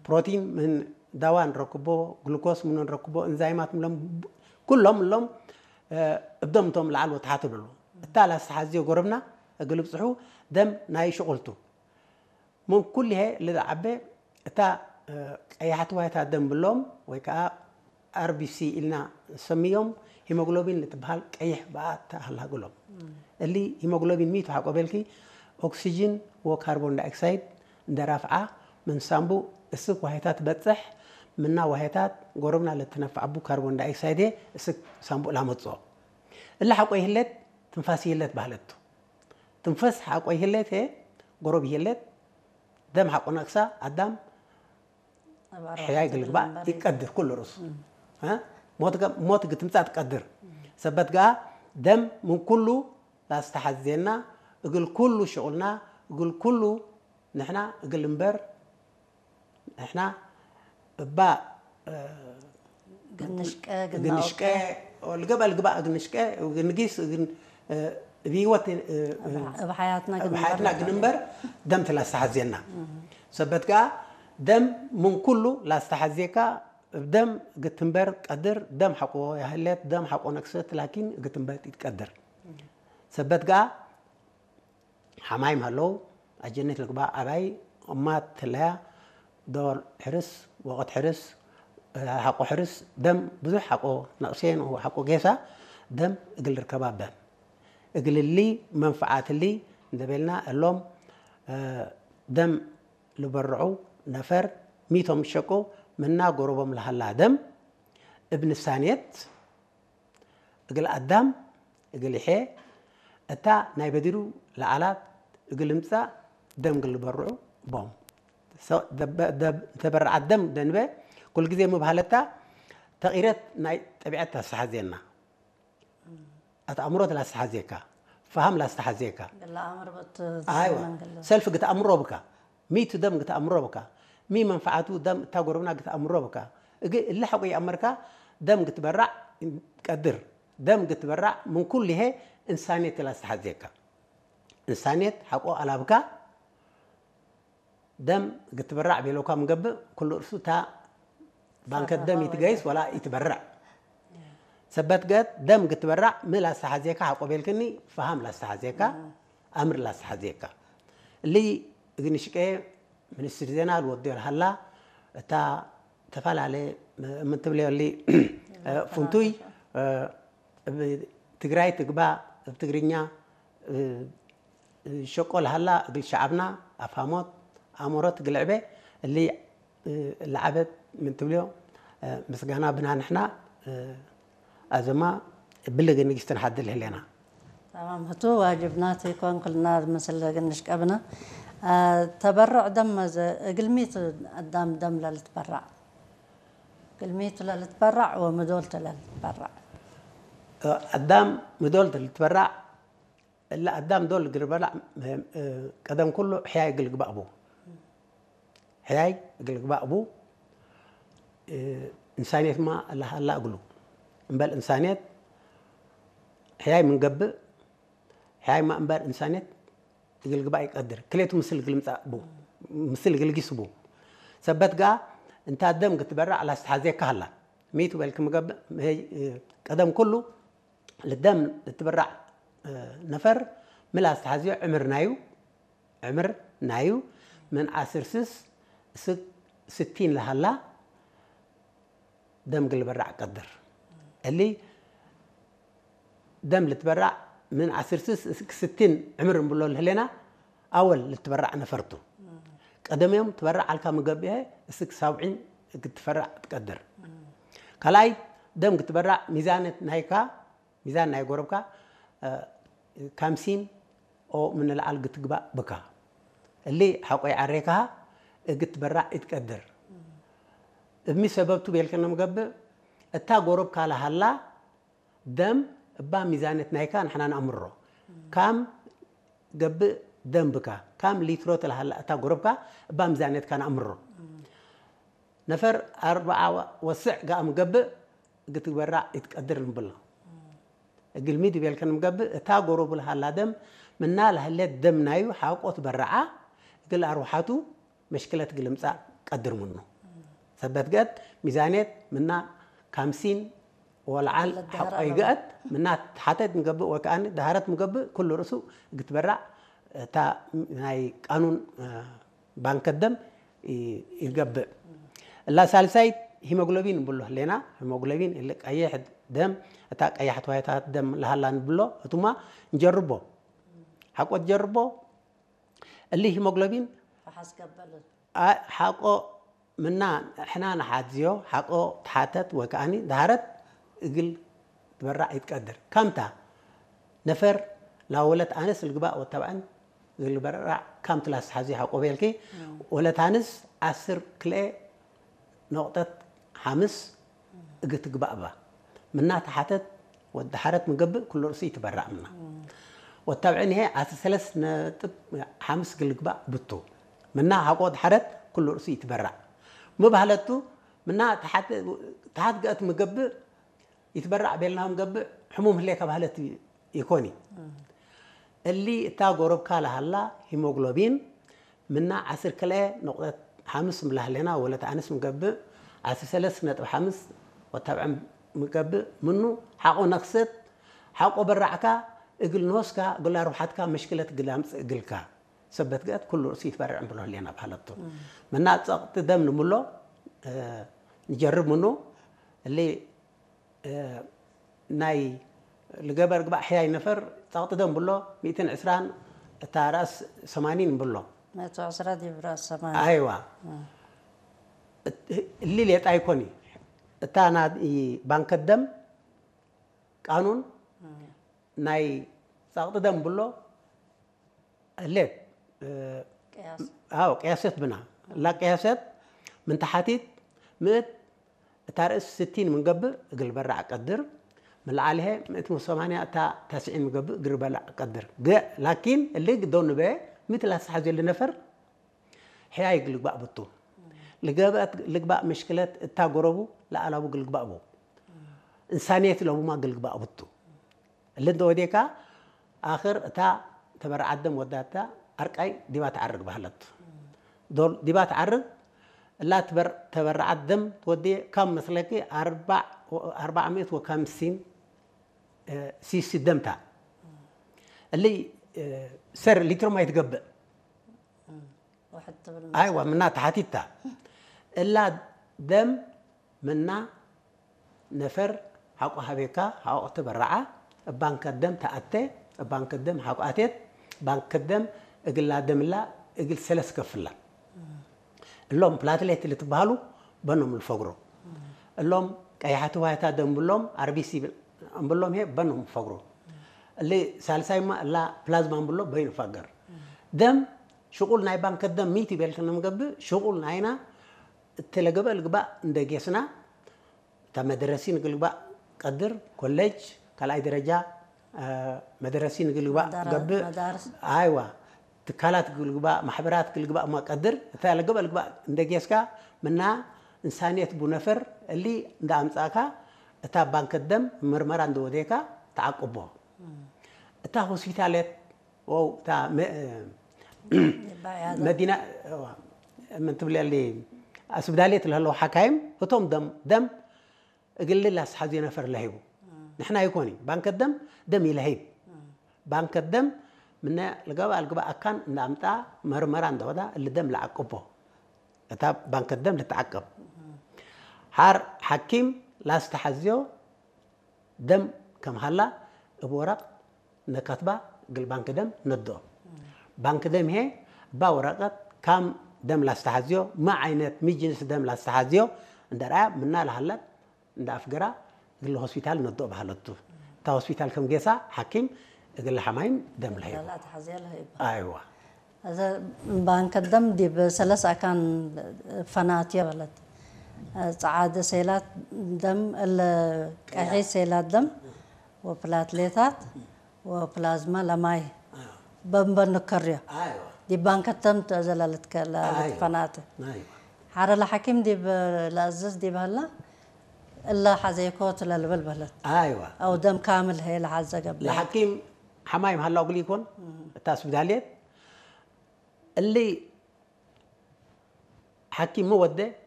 ፕሮቲን ምን ዳዋ ንረክቦ፣ ግሉኮስ ምን ንረክቦ፣ እንዛይማት ምሎም፣ ኩሎም ምሎም እብዶም እቶም ላዕል ወታሓት ብሉ። እታ ላስተሓዝዮ ጎረብና እግል ብፅሑ ደም ናይ ሽቁልቱ ምን ኩልሄ ልዓበ እታ ቀያሕቲ ዋይታ ደም ብሎም ወይ ከዓ ኣርቢሲ ኢልና ንሰምዮም። ሂሞግሎቢን ልትበሃል ቀይሕ ብኣ ተኣላግሎም። እሊ ሂሞግሎቢን ሚቱ ሓቆ በልኪ ኦክሲጅን ወካርቦን ዳይኦክሳይድ እንደራፍዓ ምን ሳምቡ እስክ ዋሄታት በጽሕ ምና ዋሄታት ጎረብና ለትነፍዓቡ ካርቦን ዳይኦክሳይድ እስክ ሳምቡ ላመጽኦ። እሊ ሓቆ ይህለት ትንፋስ ይህለት ባህለቱ። ትንፈስ ሓቆ ይህለት ጎረብ ይህለት ደም ሓቆ ነቅሳ ኣዳም ሕያይ ግልግባእ ይቀድር ኩሉ ርእሱ ሞት ግትምጻእ ትቀድር። ሰበት ገኣ ደም ምን ኩሉ ላስተሓዝየና እግል ኩሉ ሽቁልና እግል ኩሉ ንሕና እግል እምበር ንሕና እባ ግንሽቀ ግንሽቀ ልገበ ልግባእ ግንሽቀ ግንጊስ እብይወት እብ ሓያትና ግንበር ግንበር ደም ትላስተሓዝየና። ሰበት ከኣ ደም ምን ኩሉ ላስተሓዝየካ እብ ደም ግትንበር ቀድር ደም ሓቆ ያህለት ደም ሓቆ ነክሰት ላኪን ግትንበር ይትቀድር። ሰበት ከኣ ሓማይም ሃለው ኣጀነት ልግባእ ኣባይ እማ ትለያ ዶር ሕርስ ወቐት ሕርስ ሓቆ ሕርስ ደም ብዙሕ ሓቆ ነቕሴን ሓቆ ጌሳ ደም እግል ርከባ በም እግልሊ መንፍዓትሊ እንደቤልና እሎም ደም ልበርዑ ነፈር ሚቶም ሸቁ ምና ጎረቦም ለሃላ ደም እብ ንሳኔት እግል ኣዳም እግል ይሐ እታ ናይ በዲሩ ለዓላት እግል እምጻእ ደም እግል ልበርዑ ቦም ተበረዓት ደም ደንበ ኩልግዜ ምብሃለታ ተቒረት ናይ ጠቢዐት ታስተሓዝየና። ኣትኣምሮት ላስተሓዝየካ፣ ፋሃም ላስተሓዝየካ፣ ኣይዋ ሰልፍ ግትኣምሮ ብካ፣ ሚቱ ደም ግትኣምሮ ብካ፣ ሚ መንፈዓቱ ደም እታ ጎረብና ግትኣምሮ ብካ፣ እግ እሊ ሓቆ ይኣመርካ ደም ግትበራዕ ቀድር፣ ደም ግትበራዕ ምን ኩሉ ይሄ እንሳኔት ላስተሓዝየካ፣ እንሳኔት ሓቆ ኣላብካ ደም ግትበራዕ ቤለውካ ምገብእ ኩሉ እርሱ እታ ባንከት ደም ይትገይስ ወላ ይትበርዕ ሰበት ገት ደም ግትበራዕ ም ላስተሓዝየካ ሓቆ ቤልክኒ ፈሃም ላስተሓዝየካ ኣምር ላስተሓዝየካ እሊ እግንሽቀ ሚኒስትሪ ዜና ልወድዮ ልሃላ እታ ተፈላለ ምትብለዮ እሊ ፍንቱይ እብ ትግራይ ትግባ እብ ትግርኛ ሸቆ ለሃላ እግል ሸዓብና ኣፋሞት ኣእምሮት ግልዕበ እሊ ለዓበት ምን ትብልዮ ምስጋና ብና ንሕና ኣዘማ ብልግ ንግስትን ሓድል ህሌና። تمام هتو واجبنا تيكون كلنا مثل قنش قبنا. آه، تبرع دم ز-، قلميت الدم دم للتبرع. قلميت للتبرع ومدولت للتبرع. ኣዳም ምዶል ልትበራዕ እለ ኣዳም ዶል ግርበላዕ ቀደም ኩሉ ሕያይ ግልግባእ ቡ ሕያይ ግልግባእ ቡ እንሳኔት ማ ለሃላ እግሉ እምበል እንሳኔት ሕያይ ምንገብእ ሕያይ ማ እምበር እንሳኔት ግልግባእ ይቀድር ክሌቱ ምስል ግልምጻእ ቡ ምስል ግልጊስ ቡ ሰበት ጋ እንታ ደም ግትበራዕ ላስተሓዜካ ሃላ ሚቱ በልክ ምገብእ ቀደም ኩሉ ልደም ልትብራዕ ነፈር ምላስ ተሓዝዮ ዕምር ናዩ ዕምር ናዩ ምን ዓስር ስስ እስክ ስቲን ለሃላ ደም ግልበራዕ ቀድር እሊ ደም ልትበራዕ ምን ዓስር ስስ እስክ ስቲን ዕምር እንብሎ ልህሌና ኣወል ልትበራዕ ነፈርቱ ቀደምዮም ትበራዕ ኣልካ ምገብኤ እስክ ሳብዒን ግትፈራዕ ትቀድር ካልኣይ ደም ግትበራዕ ሚዛነት ናይካ ሚዛን ናይ ጎረብካ ካምሲን ኦ ምንልዓል ግትግባእ ብካ እሊ ሓቆይ ዓሬካ እግትበራዕ ኢትቀድር እብሚ ሰበብቱ ቤልከ ነምገብእ እታ ጎረብካ ለሃላ ደም እባ ሚዛነት ናይካ ንሕና ንኣምሮ ካም ገብእ ደም ብካ ካም ሊትሮ ተለሃላ እታ ጎረብካ እባ ሚዛነትካ ንኣምሮ ነፈር ኣርብዓ ወስዕ ገኣ ምገብእ ግትግበራ ይትቀድር ንብሎ እግልሚ ድቤልከ ንምገብእ እታ ጎረቡ ለሃላ ደም ምና ለህሌት ደም ናዩ ሓቆ ትበረዓ እግል ኣርውሓቱ መሽክለት ግልምጻእ ቀድር ምኑ ሰበት ገት ሚዛኔት ምና ካምሲን ወልዓል ሓቆ ይገአት ምና ሓተት ንገብእ ወከኣኒ ዳህረት ምገብእ ኩሉ ርእሱ እግትበራዕ እታ ናይ ቃኑን ባንከት ደም ይገብእ። እላ ሳልሳይት ሂሞግሎቢን ንብሎ ህሌና። ሂሞግሎቢን እሊ ቀይሕ ደም፣ እታ ቀያሕቲ ዋይታት ደም ለሃላ ንብሎ እቱማ ንጀርቦ ሓቆ ትጀርቦ። እሊ ሂሞግሎቢን ሓቆ ምና ሕና ንሓዝዮ ሓቆ ተሓተት ወይ ከኣኒ ዳህረት እግል ትበራዕ ይትቀድር። ካምታ ነፈር ላወለት ኣነስ ልግባእ ወተባዕን ዝልበራዕ ካምቲ ላስተሓዝዮ ሓቆ ቤልኪ ወለት ኣንስ ዓስር ክልኤ ነቑጠት ሓምስ እግትግባእ እባ። ምና ተሓተት ወዳሓረት ምገብእ ኩሉ ርእሱ ይትበራዕ ምና። ወታብዕን ይሄ ዓስር ሰለስተ ነጥብ ሓምስ ግልግባእ ብቱ። ምና ሓቆ ወዳሓረት ኩሉ ርእሱ ይትበራዕ። ምባህለቱ ምና ተሓት ገእት ምገብእ ይትበራዕ ቤልናም ገብእ ሕሙም ህሌካ ባህለት ይኮኒ። እሊ እታ ጎረብካ ለሃላ ሂሞግሎቢን ምና ዓስር ክልኤ ነቑጠት ሓምስ ምላህሌና ወለት ኣንስ ምገብእ ዓስር ሰለስተ ነጥብ ሓምስ ወታብዐ ምገብእ ምኑ ሓቆ ነክሰት ሓቆ በራዕካ እግል ንሆስካ እግል ኣርውሓትካ መሽክለት እግል ኣምጽእ እግልካ ሰበት ገእት ኩሉ ርእሱ ይትበርዕ እንብሎ ህሌና ባህለቱ። ምና ጸቕጢ ደም ንምሎ ንጀርብ ምኑ እሊ ናይ ልገበር ግባእ ሕያይ ነፈር ጸቕጢ ደም ብሎ ሚእትን ዕስራን እታ ራእስ ሰማኒን ብሎ መቶ ዕስራ ዲብ ራእስ ሰማኒ ኣይዋ እሊ ሌጣ ይኮኒ እታ ናይ ባንከት ደም ቃኑን ናይ ጸቕጢ ደም ብሎ ሌት ቅያስ ኣው ቅያሰት ብና ላ ቅያሰት ምን ተሓቲት ምእት እታ ርእስ ስቲን ምንገብእ እግል በራዕ ቀድር ምልዓልሄ ምእት ሰማንያ እታ ታስዒን ምገብእ እግል በላዕ ቀድር ገ ላኪን እሊ ግደው ንበ ምእት ላስተሓዘሉ ነፈር ሕያይ ግልግባእ ብቱ ልገበእት ልግባእ ምሽክለት እታ ጎረቡ ለኣላቡ ግልግባእ ቡ እንሳንየት ለቡማ ግልግባእ ብቱ እሊ እንተ ወዴካ ኣኽር እታ ተበርዓት ደም ወዳታ ኣርቃይ ዲባ ትዓርግ ባህለት ዶል ዲባ ትዓርግ እላ ትበር ተበርዓት ደም ትወዴ ካብ መስለኪ ኣርባዕ ኣርባዕ ሚእት ወካምሲን ሲሲ ደምታ እሊ ሰር ሊትሮ ማይ ትገብእ ውሕድ ትብል ኣይዋ ምና ተሓቲታ እላ ደም ምና ነፈር ሓቆ ሃቤካ ሓቆ ተበራዓ እባንከ ደም ተኣተ እባንከ ደም ሓቆ ኣቴት ባንከ ደም እግላ ደምላ እግል ሰለስ ከፍላ እሎም ፕላትሌት ልትበሃሉ በኖም ልፈግሮ እሎም ቀያሕቲ ዋይታ ደም ብሎም ኣርቢሲ እምብሎም ሄ በኖም ፈግሮ እሊ ሳልሳይማ እላ ፕላዝማ እምብሎ በይኑ ፈገር ደም ሽቁል ናይ ባንከ ደም ሚት ይቤልክና ምገብእ ሽቁል ናይና እተለገበ ልግባእ እንደጌስና እታ መደረሲ ንግልግባእ ቀድር ኮሌጅ ካልኣይ ደረጃ መደረሲ ንግልግባእ ገብእ መዳርስ ኣይዋ ትካላት ግልግባእ ማሕበራት ግልግባእ እማ ቀድር እታ ለገበ ልግባእ እንደጌስካ ምና እንሳንየት ቡነፈር እሊ እንዳ ኣምጻእካ እታ ባንከ ደም ምርመራ እንደወደካ ተዓቅቦ እታ ሆስፒታለት ወው እታ መ- ይባያለ መዲና ምን ትብለሊ ኣስብዳሌት ለህለው ሓካይም እቶም ደም ደም እግል ላስሓዚ ነፈር ለሂቡ ንሕና ይኮኒ ባንከ ደም ደም ይለሂብ ባንከ ደም ምነ ልገባ ልግባ ኣካን እንዳምጣ መርመራ እንደወዳ እሊ ደም ለዓቅቦ እታ ባንከ ደም ልትዓቀብ ሓር ሓኪም ላስተሓዝዮ ደም ከም ሃላ እብ ወረቕ ነከትባ ግል ባንክ ደም ነድኦ ባንክ ደም ሄ እባ ወረቀት ካም ደም ላስተሓዝዮ ማ ዓይነት ሚ ጅንስ ደም ላስተሓዝዮ እንደ ረኣያ ምና ለሃለት እንደ ኣፍገራ ግል ሆስፒታል ነድኦ ባህለቱ እታ ሆስፒታል ከም ጌሳ ሓኪም እግል ሓማይም ደም ለሂቡ ላላ ተሓዝያ ለህይባ ኣይዋ እዚ ባንክ ደም ዲብ ሰለስ ኣካን ፈናት የበለት ጸዓደ ሴላት ደም እለ ቀሒ ሴላት ደም ወፕላትሌታት ወፕላዝማ ለማይ በንበን ንከርዮ ኣይዋ ዲብ ባንክ ደም ዘለለት ኣይዋ ፈናት ኣይዋ ሓረ ለሓኪም ዲብ ለእዝዝ ዲብ ሀላ እለ ሓዘይኮ ትለልብል በለት ኣይዋ ኣው ደም ካምል ሄ ለሓዘ ገብለ ለሓኪም ሓማይም ሃላው ግሊ ይኮን እታ ስብዳልየት እሊ ሓኪም መወደ